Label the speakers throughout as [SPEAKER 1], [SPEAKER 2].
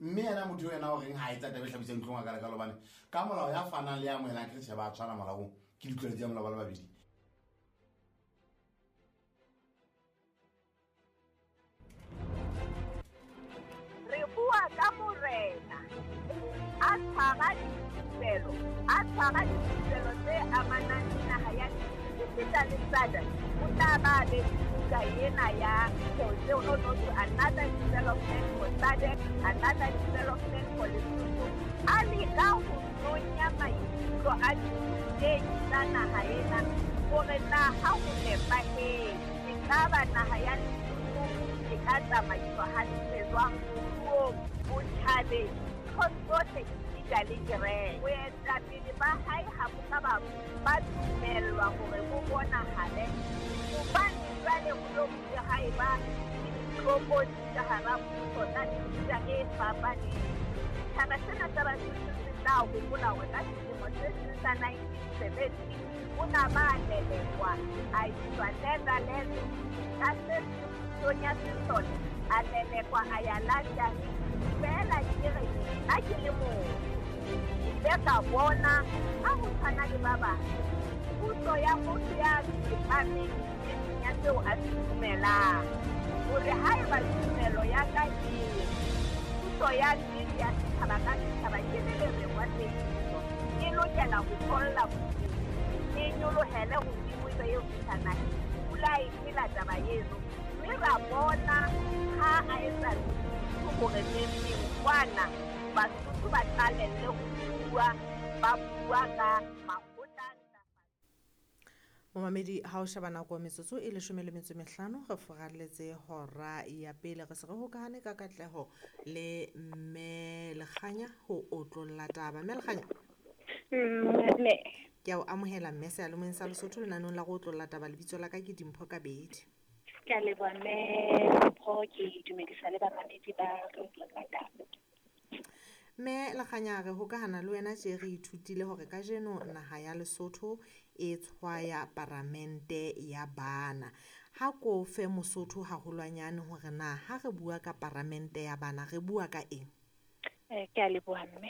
[SPEAKER 1] Mme yena motho yena o reng ha etsa taba e hlabisang dihlong a ka lekalo bane ka molao ya fanang le ya amohelang ke tjhe ba tshwana molaong ke ditlolo tsa molao ba le babedi.
[SPEAKER 2] Re bua ka morena a tshwara dithupelo, a tshwara dithupelo tse amanang le naha ya esita le SADC. O tla ba be le buka ena ya tseo no no to another development for SADC, another development for Lesotho. A leka ho nonya maikutlo a dithutehi tsa naha ena hore na ha ho nepahetse ekaba naha ya Lesotho e ka tsamaiswa hantle jwang moruong, botjhabeng, ntho tsohle esita le kereke. Boetapele ba hae ha bo ka ba dumellwa hore bo bonahale hobane jwale ho lo bile ha eba le ditlokotsi ka hara puso tsa mefuta e fapaneng. Setjhaba sena sa Basotho se tla hopola hore ka selemo se seng sa 1970 o na ba lelekwa a iswa Netherlands, ka se pusong ya sesole a lelekwa a ya London. Feela ke re ha ke le motho ke ile ka bona ha ho tshwana le ba bang puso ya motho ya tsepameng nneteng ya seo a se dumelang, hore haeba tumelo ya ka e puso ya nnete ya setjhaba ka setjhaba ke le lereng wa tsebiso e lokela ho tholla bodimo, e nyolohele hodimo ebe eo fihla naheng. Pula e phela taba eno, mme ra bona ha a etsa hore neng kwana Basotho ba qalelle ho bua, ba bua ka makgotla.
[SPEAKER 3] Momamedi, ha o sheba nako metsotso e 15 re furalletse hora ya pele. Re se re hokahane ka katleho le mme Lekganya ho otlolla taba. Mme Lekganya,
[SPEAKER 4] Mme
[SPEAKER 3] ke a o amohela mme seyalemoyeng sa Lesotho lenaneng la go otlolla taba. Lebitso la ka ke Dimpho Kabedi.
[SPEAKER 4] Ke a leboha mme Mpho, ke dumedisa le bamamedi ba re otlolla taba.
[SPEAKER 3] Mme Lekganya, re hokahana le wena tje re ithutile hore kajeno naha ya Lesotho e tshwaya paramente ya bana. Ha ko fe Mosotho haholwanyane hore na ha re bua ka paramente ya bana re bua ka eng?
[SPEAKER 4] Ke a leboha mme.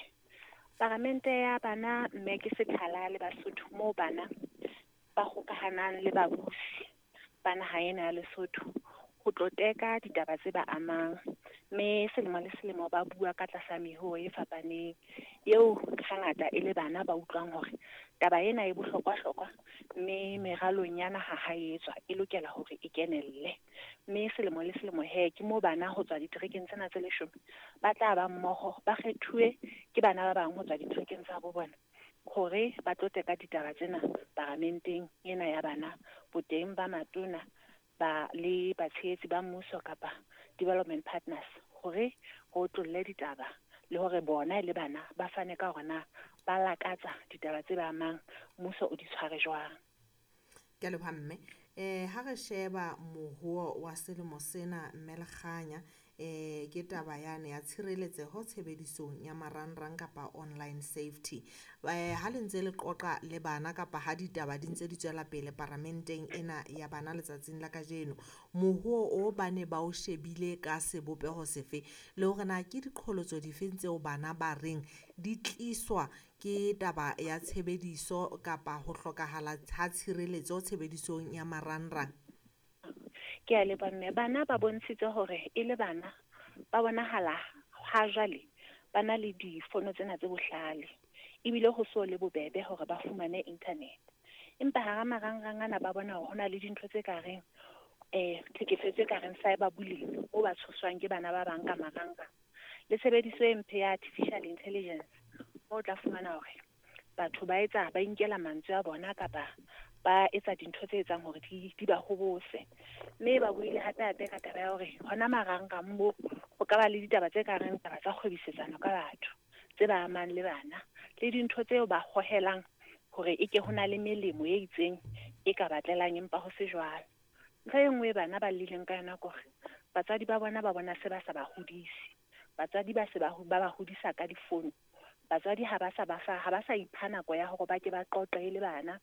[SPEAKER 4] Paramente ya bana mme ke sethala le Basotho moo bana ba hokahanang le babusi ba naha ena ya Lesotho ho tlo teka ditaba tse ba amang. Mme selemo le selemo ba bua ka tlasa mehoo e fapaneng eo hangata e le bana ba utlwang hore taba ena e bohlokwa-hlokwa, mme meralong ya naha ha e etswa e lokela hore e kenelle. Mme selemo le selemo he ke moo bana ho tswa diterekeng tsena tse 10 ba tla ba mmoho, ba kgethuwe ke bana ba bang ho tswa diterekeng tsa bo bona hore ba tlo teka ditaba tsena paramenteng ena ya bana, boteng ba matona ba le batshehetsi ba mmuso kapa development partners, hore ho otlolle ditaba le hore bona le bana ba fane ka hore na ba lakatsa ditaba tse ba amang, mmuso o di tshware jwang.
[SPEAKER 3] Ke a leboha mme. Ha re sheba moruo wa selemo sena mme Lekganya, ke taba yane ya tshireletseho tshebedisong ya marangrang kapa online safety. Ha le ntse le qoqa le bana kapa ha ditaba di ntse di tswela pele paramenteng ena ya bana letsatsing la kajeno, moruo o ba ne ba o shebile ka sebopeho sefe, le hore na ke diqholotso difeng tseo bana ba reng di tliswa ke taba ya tshebediso kapa ho hlokahala ha tshireletso tshebedisong ya marangrang?
[SPEAKER 4] Ke a leboha mme. Bana ba bontshitse hore e le bana ba bonahala ha jwale ba na le difono tsena tse bohlale, ebile ho so le bobebe hore ba fumane internet. Empa hara marangrang ana ba bona hore ho na le dintho tse ka reng tlhekefetso e ka reng cyber bullying, o ba tshoswang ke bana ba bang ka marangrang, le tshebediso e mpe ya artificial intelligence, mo o tla fumana hore batho ba etsa ba inkela mantswe a bona kapa ba etsa dintho tse etsang hore di ba hobose. Mme ba buile hape-hape ka taba ya hore hona marangrang mo ho ka ba le ditaba tse ka reng taba tsa kgwebisetsano ka batho tse ba amang le bana, le dintho tseo ba hohelang hore e ke ho na le melemo e itseng e ka batlelang empa ho se jwalo. Ntho e nngwe bana ba lleleng ka yona ke hore batswadi ba bona ba bona se ba sa ba hodise. Batswadi ba se ba ba hodisa ka difono. Batswadi ha ba sa ba fa, ha ba sa ipha nako ya hore ba ke ba qoqe le bana,